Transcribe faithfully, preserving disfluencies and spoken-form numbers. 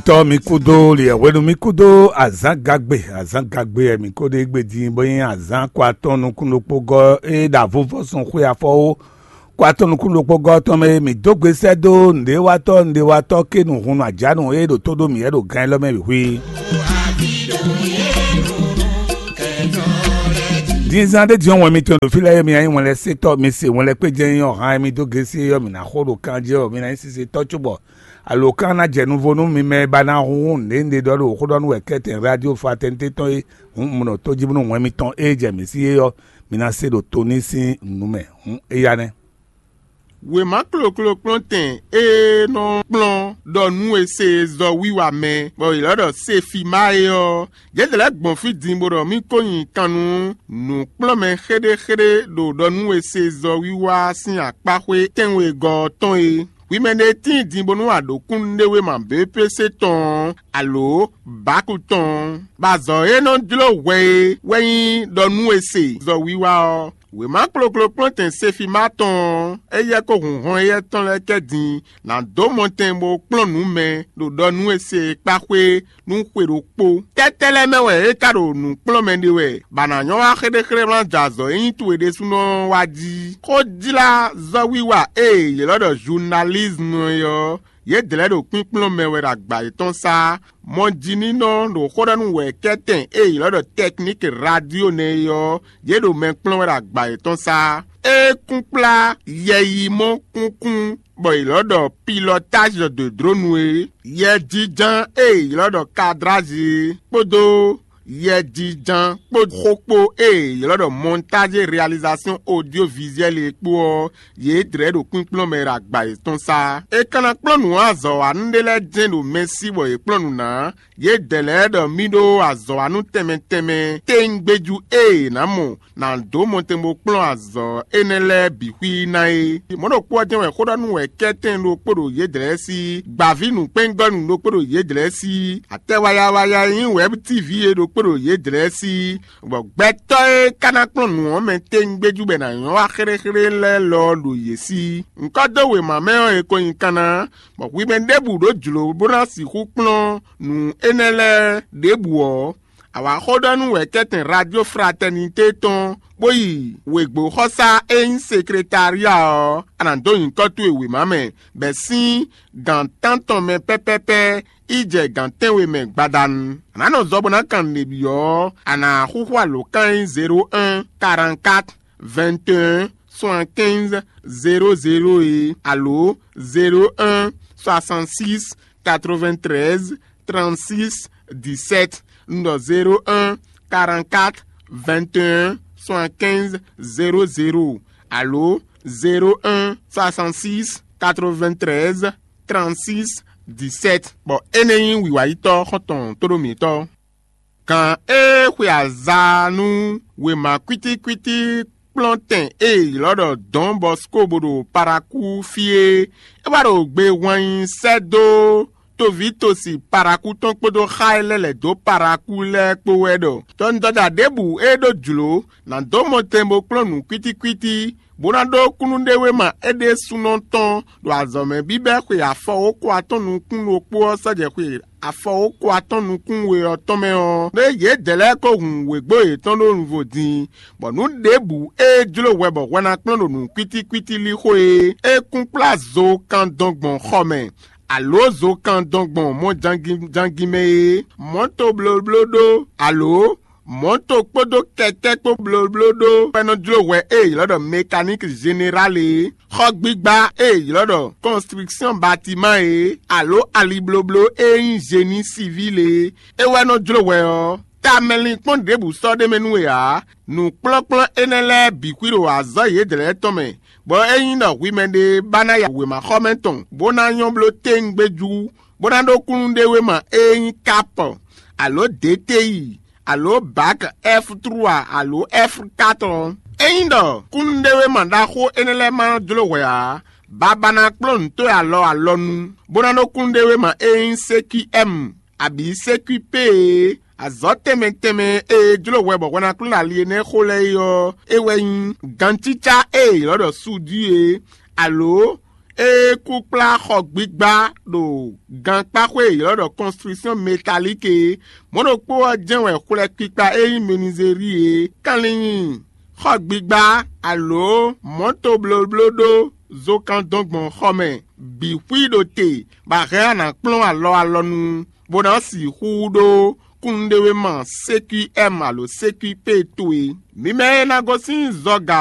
Tɔ́ mi kúdó liɛ hwenu mi kúdó azǎn gagbe, azǎn gagbe wɛ mi ko ɖe gbe din bó nyí azǎn ko atɔn nukún ɖokpó gɔ́ é ɖo avuvɔ́sɔn xwé afɔwó ko atɔn nukún ɖokpó gɔ́ tɔn mɛ. Mi dó gbe sɛ́ dó nǔɖéwatɔ́ nǔɖéwatɔ́ ké nu hun ajǎnu e ɖo tó ɖó mǐ wɛ ɖo gán élɔ́ mɛ bǐ xwí. Dinzan ɖé din ɔ́, wɛn mitɔn ɖo fí lɛ́ɛ e mi ná nyí wɛnlɛ́setɔ́, mi se wɛnlɛ́kpéjɛ́n nyí ɔ́, han e mi dó gesi é ɔ́, mi ná xo ɖo kan jɛ ɔ́, mi ná nyí sisetɔ́ cóbɔ alǒkan ná jɛ nuvo nú mi mɛ e ba ná hun nǔɖé ɖɔ ɖo xó ɖɔ nú wɛ kɛ́tɛn radio fraternité tɔn é. Hǔn un ɖo tó jí bónú wɛn mitɔn e jɛ mǐ sí é ɔ́, mi ná se ɖo to ní sín nǔ mɛ. Hǔn éyá nɛ́. Wěma kloklo kplɔ́ntɛn e nɔ kplɔ́n ɖɔ nú e se zɔ wiwa mɛ, bɔ è lɔ̌ ɖɔ Sefima é ɔ́, yě lɛ́ gbɔn fí din bó ɖɔ mì ko nyi kan nú nǔkplɔ́nmɛ xéɖéxéɖé ɖo ɖɔ nú e se zɔ wiwa sín akpáxwé tɛ́nwegɔ́ ɔ́ tɔn é. Hwi mɛ ɖé tíin din bónú a ɖǒ kúnnuɖewéma B P C tɔn ɔ́, alǒ Baku tɔn ɔ́, bɔ azɔ̌ e nɔ jló hwɛ é wɛ nyí ɖɔ nú e se zɔ wiwa ɔ́. Wěma kloklo kplɔ́ntɛn Sefima tɔn ɔ́, éyɛ́ kó hun hɔn éyɛ́ tɔn lɛ́ɛ kɛ din ná dó mɔtɛn bó kplɔ́n nǔ mɛ ɖo ɖɔ nú e se e kpá xwé nú xwe ɖokpó. Tɛ́tɛ́ lɛ́ɛ mɛ wɛ é ka ɖo nǔ kplɔ́n mɛ ɖe wɛ, bɔ a nǎ nyɔ́ wá xéɖéxéɖé wlán jɛ azɔ̌ e nyí towe ɖésúnɔ ɔ́ wá jí. Xójlázɔ́wiwa e è ylɔ́ ɖɔ zunalízmu é ɔ́, yědɛɛ lɛ́ɛ ɖo kpínkplɔ́n mɛ wɛ ɖo agba yětɔn sá. Mɔjininɔ ɖo xó ɖɔ nú wɛ̌kɛ́tɛn e è ylɔ́ ɖɔ tɛkníki radio nɛ́ é ɔ́, yě ɖo mɛ kplɔ́n wɛ ɖo agba yětɔn sá. É kún kplá yɛyimɔ kúnkún bɔ è ylɔ́ ɖɔ pilɔtázi de dronu é, yɛjínján e è ylɔ́ ɖɔ kadrázi é, kpódó yɛjínján kpó xó kpó e è ylɔ́ ɖɔ mɔntázi realizasɔn odyovizuɛli é kpó ɔ́, yě dlɛ̌ ɖo kpínkplɔ́n mɛ ɖo agba yětɔn sá. È ka ná kplɔ́n nǔ azɔ̌wanú ɖé lɛ́ɛ jɛ́n ɖo mɛ sí bɔ yě kplɔ́n nǔ ná. Yědɛɛ lɛ́ɛ ɖɔ mì ɖó azɔ̌wanú tɛnmɛ tɛnmɛ téŋgbéjú e è nǎ mɔ ná dó mɔtɛn bó kplɔ́n azɔ̌ énɛ́ lɛ́ɛ bǐ xwí ná é. Mɔ̌ ɖokpó ɔ́ jɛ́n wɛ xó ɖɔ nú wɛ̌kɛ́tɛn ɖokpó ɖo yědɛɛ sí, gbǎví nǔkpɛ́ngɔ́nú ɖokpó ɖo yědɛɛ sí, atɛ wayawaya e nyí wɛ̌btíví é ɖokpó ɖo yědɛɛ sí, bɔ gbɛtɔ́ e ka ná kplɔ́n nǔ ɔ́ mɛ téŋgbéjú bɔ è nǎ nyɔ́ wá xéɖéxéɖé lɛ́ɛ lɔ ɔ́ ɖo yě sí. Ŋkɔ́ dó wěma mɛ ɔ́, è ko nyi kanna, bɔ hwi mɛ ɖěbǔ ɖó jlǒ bó ná sixú kplɔ́n nǔ énɛ́ lɛ́ɛ ɖěbǔ ɔ́, a wǎ xó ɖɔ nú wɛ̌kɛ́tɛn Radio Fraternité tɔn, bó yi wěgbóxɔsá e nyí sekretária ɔ́, a nǎ dó nyǐkɔ towe wěma mɛ, bɛ̌ sín gǎn tántɔn mɛ pɛ́pɛ́pɛ́ yi jɛ gǎn tɛ́nwe mɛ gbadanu. A nǎ nɔ zɔ bó ná kan nǔɖé byɔ́ ɔ́, a nǎ xúxú alǒkan e nyí zéro un, quarante-quatre, vingt et un, soixante-quinze, zéro zéro é, alo zéro un, soixante-six, quatre-vingt-treize, trente-six, dix-sept. Un ɖɔ zéro un, quarante-quatre, vingt et un, soixante-quinze, zéro zéro, alo zéro un, soixante-six, quatre-vingt-treize, trente-six, dix-sept. Bɔ énɛ́ nyí wǐwáyítɔ́ xɔ́ntɔn tóɖó mǐtɔn. Gǎn e xwe azǎn nú wěma kwítíkwítí kplɔ́ntɛn e è ylɔ́ ɖɔ Dɔ̌n Bɔsko bó ɖo Parakú fí é, é wá ɖo gbe hwan nyi sɛ́ dó Tovitosi Parakú tɔn kpódó xá e lɛ́ lɛ̌ dó Parakú lɛ́ɛ kpó wɛ ɖɔ tɔndɔda ɖěbǔ e ɖó jlǒ ná dó mɔtɛn bó kplɔ́n nǔ kwítíkwítí, bó ná ɖó kúnnuɖewéma é ɖésúnɔ tɔn ɖo azɔ̌mɛ bíbɛ́ xwe afɔwókɔ atɔ́ɔ́n nukún ɖokpó ɔ́ sɔ́ jɛ xwe afɔwókɔ atɔ́ɔ́n nukún we ɔ́ tɔn mɛ ɔ́, ɖé yědɛɛ lɛ́ɛ ko hun wěgbó yětɔn ɖó nuvo din, bɔ nǔ ɖěbǔ e jló hwɛ bɔ hwɛ ná kplɔ́n ɖo nǔ kwítíkwítí lixo e é kún kplá zo kan dɔn gbɔn xɔ mɛ, alo zo kan dɔn gbɔn mɔjangin mɛ e, mɔ̌to blóbló ɖó, alo mɔ̌to kpódó kɛkɛ́ kpó blóbló ɖó wɛ nɔ jló hwɛ e è ylɔ́ ɖɔ mekaník zenerál é. Xɔ gbígbá e è ylɔ́ ɖɔ kɔnstriksyɔn batiman é, alo ali blóbló e nyí zení sivíl é, é wɛ nɔ jló hwɛ ɔ́, tamɛlinkpɔ́n ɖěbǔ sɔ́ ɖ'é mɛ nú we ǎ. Nǔkplɔ́nkplɔ́n énɛ́ lɛ́ɛ bǐ xwí ɖo azɔ̌ yědɛɛ lɛ́ɛ tɔn mɛ, bɔ ényí ɖɔ hwi mɛ ɖé ba ná ya wěmaxɔmɛ tɔn, bó ná nyɔ́ bló téwúngbéjú, bó ná ɖó kúnnuɖewéma e nyí kapɔ, alo detéyi, alo bak F trois alo F quatre ɔ́. Ényí ɖɔ kúnnuɖewéma ɖaxó énɛ́ lɛ́ɛ ma nɔ jló hwɛ ǎ, baba ná kplɔ́n nǔ towe alɔ alɔnu, bó ná ɖó kúnnuɖewéma e nyí C Q M, abǐ C Q P é, azɔ̌ tɛnmɛ tɛnmɛ e jló hwɛ bɔ hwɛ ná kló ɖo ali énɛ́ xo lɛ́ɛ é ɔ́, é wɛ nyí gancícá e è ylɔ́ ɖɔ sudí é, alo é kú kplá xɔ gbígbá ɖo gankpáxwé e ylɔ́ ɖɔ kɔnstriksyɔn metalík é. Mɔ̌ ɖokpó ɔ́ jɛ́n wɛ xwlɛkpikpa e nyí menizeri é kanlin nyi. Xɔ gbígbá alǒ mɔ̌to blóbló ɖó zokandɔn gbɔn xɔ mɛ bǐ xwí ɖo te, bɔ a hɛn ɔ́ a nǎ kplɔ́n alɔ alɔnu, bó ná sixú ɖó kúnnuɖewéma sékwíɛ́mu alo sékwípe towe. Mi mɛ e ná gosín zɔga